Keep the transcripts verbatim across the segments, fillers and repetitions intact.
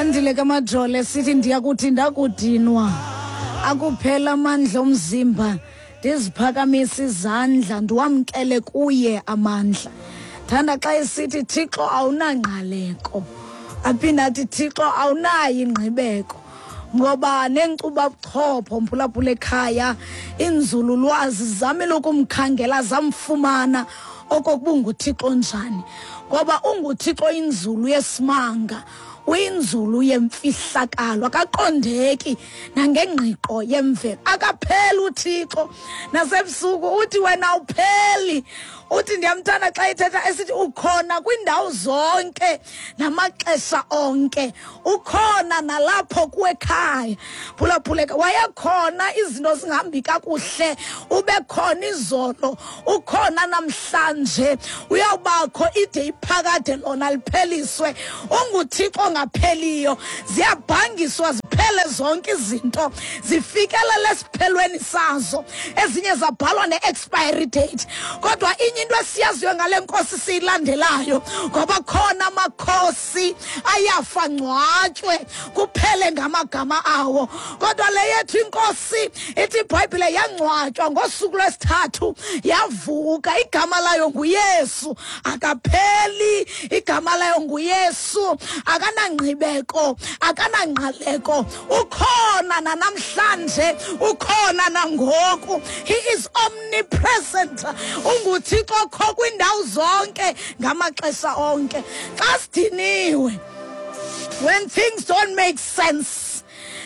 Andile kaMajole sithi ndiyakuthi ndakudinwa akuphela amandla omzimba ndiziphakamisa izandla ndiwamkele kuye amandla. Thanda xa esithi Thixo awunangqaleko, aphinde athi Thixo awunayo ingqibeko, ngoba nenkcuba buchopho mphulaphula ekhaya inzululwazi zamile ukumkhangela zamfumana okokuba unguThixo njani, ngoba unguThixo inzulu yesimanga, uyinzulu yemfihlakalo, akaqondeki nangengqiqo yemvelo. Akapheli uThixo nasebusuku, uthi wena awupheli. Uthi ndiyamthanda xa ethetha esithi ukhona kwindawo zonke namaxesha onke, ukhona nalapho kuwekhaya. Phulaphuleka, wayekhona izinto zingahambi kakuhle, ube khona izolo, ukhona namhlanje, uyawubakho ide iphakade lona lipheliswe. UnguThixo ongapheliyo, ziyabhangiswa ziphele zonke izinto, zifikelele esiphelweni sazo, ezinye zabhalwa ne-expiry date. Kodwa inye into esiyaziyo ngale nkosi siyilandelayo, ngoba khona amakhosi ayafa ngcwatywe kuphele ngamagama awo, kodwa le yethu inkosi ithi iBhayibhile yangcwatywa ngosuku lwesithathu yavuka. Igama layo nguYesu, akapheli. Igama layo nguYesu, akanangqibeko, akanangqaleko, ukhona nanamhlanje, ukhona nangoku. He is omnipresent. UnguThixo okho kwindawo zonke ngamaxesha onke. Xa sidiniwe, when things don't make sense,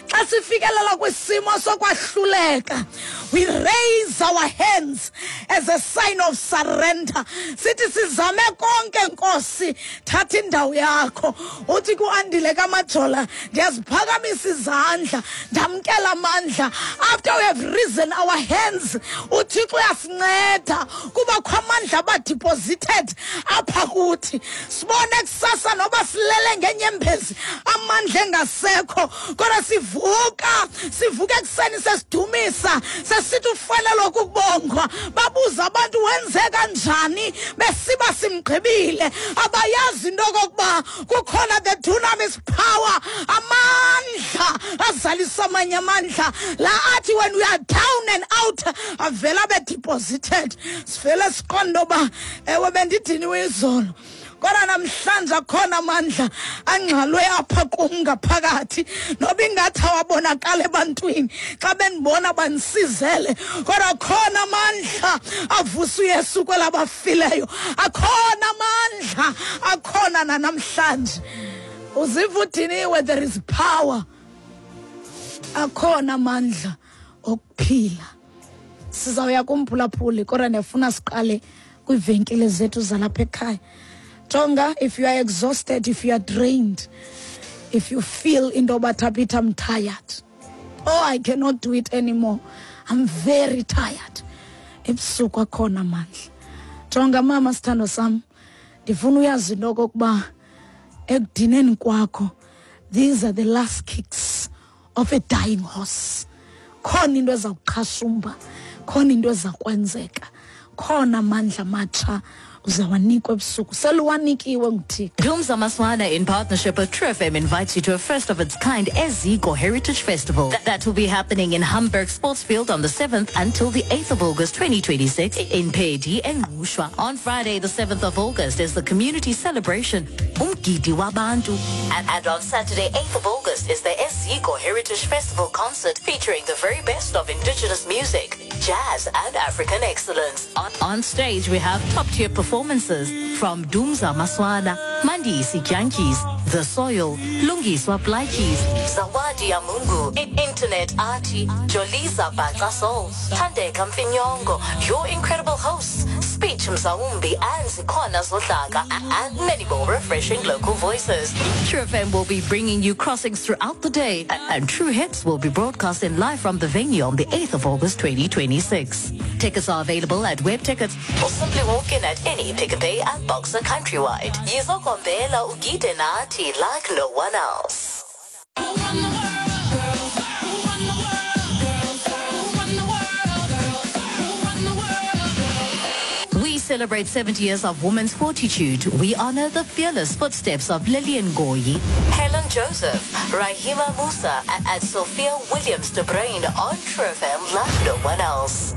xa sifikelela kwisimo sokwahluleka, we raise our hands as a sign of surrender. Sithi sizame konke Nkosi, thatha indawo yakho. Uthi kuAndile kaMajola, ndiyaziphakamisa izandla, ndamkela amandla. After we have risen our hands, uThixo uyasinceda kuba kho amandla abadeposited apha kuthi. Sibone kusasa noba silele ngenyembezi, amandla engasekho, kodwa sivuka, sivuka ekuseni sesidumisa, sesithi ufanele ukubongwa. Babuza abantu wenze kanjani, besiba simgqibile. Abayazi into okokuba kukhona the dunamis power, amandla azalisa amanye amandla la athi when we are down and out avela be-deposited. Sivele siqonde uba ewe bendidiniwe izolo, kodwa namhlanje akhona amandla angxalwe apha kum ngaphakathi, noba ingathi awabonakala ebantwini, xa bendibona bandisizele, kodwa khona amandla avusa uYesu kwelabafileyo. Akhona amandla, akhona nanamhlanje. Uziva udiniwe, there is power. Akhona amandla okuphila. Sizawuya kumphulaphuli, kodwa ndiyafuna siqale kwiivenkile zethu zalapha ekhaya. Jonga, if you are exhausted, if you are drained, if you feel into yoba Thabitha, I'm tired, oh I cannot do it anymore, I'm very tired, ebusuku akhona amandla. Jonga mama, sithando sam, ndifuna uyazi into okokuba ekudineni kwakho, these are the last kicks of a dying horse. Khona into eza kuqhashumba, khona into eza kwenzeka, khona amandla amatsha uzawanikwa ebusuku, seluwanikiwe nguThixo. Dumza Maswana in partnership with True F M invites you to a first of its kind Eziko Heritage Festival. Th- that will be happening in Hamburg Sportsfield on the seventh until the eighth of August twenty twenty-six in Pedi and Ngqushwa. On Friday the seventh of August is the community celebration Umgidi Wabantu. And, and on Saturday eighth of August is the Eziko Heritage Festival concert featuring the very best of indigenous music, jazz and African excellence. On, on stage we have top-tier performances from Dumza Maswana, Mandisi Jantjies, The Soil, Lungiswa Plaatjies, Zawadi Amungu, Internet Artie, Joliza Baca Soul, Thandeka Mfinyongo, your incredible hosts, Speech Mzawumbi and Zikhona Zodlaka, and many more refreshing local voices. True F M will be bringing you crossings throughout the day, and True Hits will be broadcasting live from the venue on the eighth of August twenty twenty-six. Tickets are available at Web Tickets or simply walk in at any Pick n Pay and Boxer countrywide. Yizokombela ugide nathi like no one else. We celebrate seventy years of women's fortitude, we honor the fearless footsteps of Lillian Goyi, Helen Joseph, Rahima Moosa, and Sophia Williams de Bruyn on True F M like no one else.